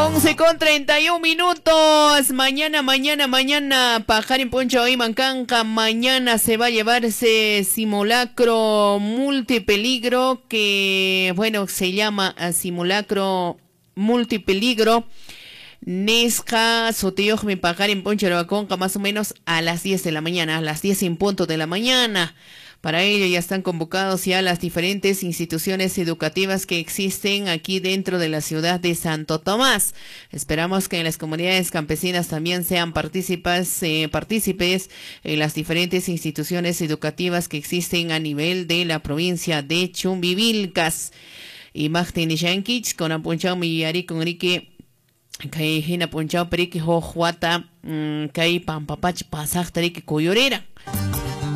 11:31. Mañana, mañana, mañana. Paqarin p'unchaw iman kanqa. Mañana se va a llevarse simulacro multipeligro que, bueno, se llama simulacro multipeligro. Nisqa sutiyuqmi paqarin p'unchaw ruwakunqa más o menos a las 10 de la mañana, a las 10 en punto de la mañana. Para ello ya están convocados ya las diferentes instituciones educativas que existen aquí dentro de la ciudad de Santo Tomás. Esperamos que en las comunidades campesinas también sean partícipes en las diferentes instituciones educativas que existen a nivel de la provincia de Chumbivilcas. Y Magtin Nishankich, con apunchao yuyarikun riki kay hina p'unchawpi riki huk wata kay pampapacha pasaqta riki kuyurira.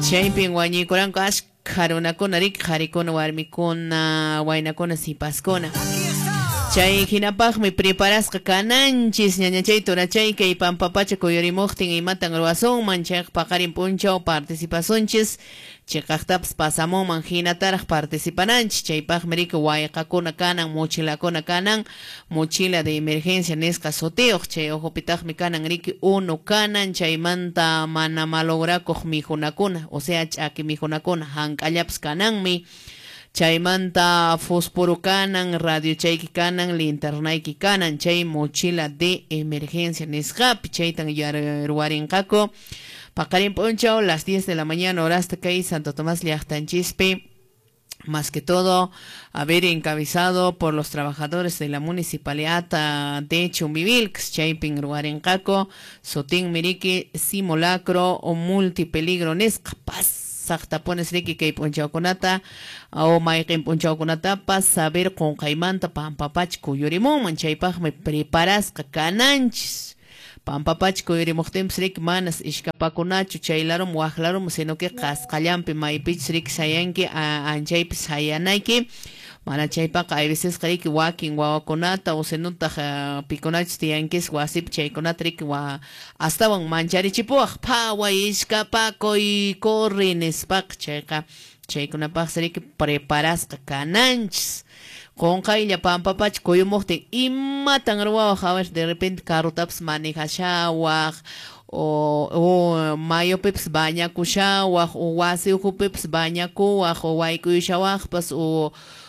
Chaypin wañuykuranku ashkha runakuna riki, qharikuna, warmikuna, waynakuna, sipaskuna. Chay hinapaqmi preparasqa kananchis ñañachay turachay kay pampapacha kuyurimuqtin imatan ruwasunman chayqa paqarin p'unchaw participasunchis chiqaqtapas pasamunman hinataraq participananchis chaypaqmi riki wayqakuna kanan mochilakuna kanan mochila de emergencia nisqa sutiyuq chay ukhupitaqmi kanan riki unu kanan chaymanta mana malograkuq mijunakuna o sea ch'aki mijunakuna hank'allapas kananmi. Chaymanta fósforo kanan, radio chayki kanan, linternayki kanan, chay mochila de emergencia nisqapi chaytan ruwarinqaku. Paqarin p'unchaw las 10 de la mañana horasta kay Santo Tomás llaqtanchispi. Más que todo, haber encabezado por los trabajadores de la municipalidad de Chumbivilcas, chaypin ruwarinqaku, sutin miriki simulacro o multipeligro nisqa pas. Saqtapones riki kay p'unchawkunata o mayqin p'unchawkunatapas saber qunqaymanta pampapacha kuyurimunman chaypaqmi preparasqa kananchis. Pampapacha kuyurimuqtinpas riki manas ishkapakunachu chaylarum waqlarum sino que qasqallanpi maypichus riki sayanki anchaypi sayanayki. Mana chaypaqa hay veces riki wakin wawakunata o sinutaq pikunachus tiyankis wasipi chaykunata riki astawan mancharichipuwaq phaway ishkapakuy corre nispaqa chayqa chaykunapaqsi riki preparasqa kananchis. Qunqaylla pampapacha kuyumuqtin imatan ruwawaq a ver de repente carrutapas manejashawaq o mayupipas bañakushawaq o wasi ukhupipas bañakuwaq o wayk'uyushawaqpas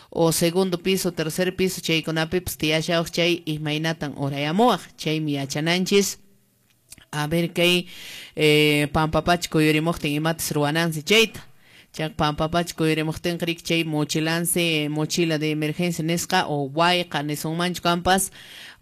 o segundo piso, tercer piso chaykunapipas tiyashawaq chay imaynatan urayamuwaq chaymi yachananchis. A ver kay pampapacha kuyurimuqtin imatas ruwanansi chayta. Chay pampapacha kuyurimuqtinqa riki chay mochilansi mochila de emergencia nisqa o wayqa nisunmanchu kanpas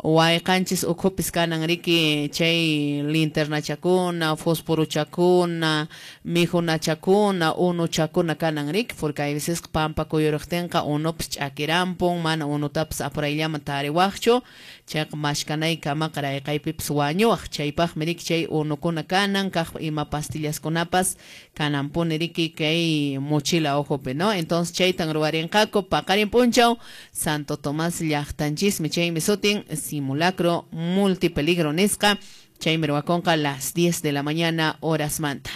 wayqanchis ukhupis kanan riki chay linternachakuna, fosforochakuna, mijunachakuna, unuchakuna kanan riki porque hay veces pampa kuyuriqtinqa unupas ch'akirampun mana unutapas apurayllaman tariwaqchu chayqa mashkanaykamaqa rayqaypipas wañuwaq chaypaqmi riki chay unukuna kanan kaq ima pastillaskunapas kananpuni riki kay mochila ukhupi, ¿no? Entonces chaytan ruwarinqaku paqarin p'unchaw Santo Tomás llaqtanchismi chaymi sutin simulacro multipeligro nisqa chaymi ruwakunqa las 10 de la mañana horas manta.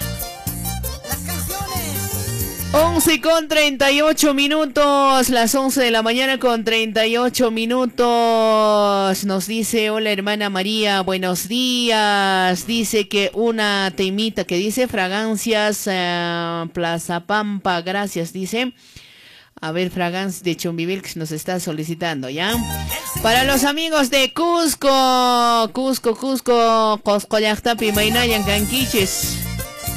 11:38, las 11 de la mañana con 38 minutos. Nos dice, hola hermana María, buenos días. Dice que una temita que dice fragancias Plaza Pampa, gracias, dice. A ver, Fragancias de Chumbivilcas nos está solicitando, ¿ya? Para los amigos de Cusco, Cusco, Cusco, Cusco llaqtapi maynayan kankichis.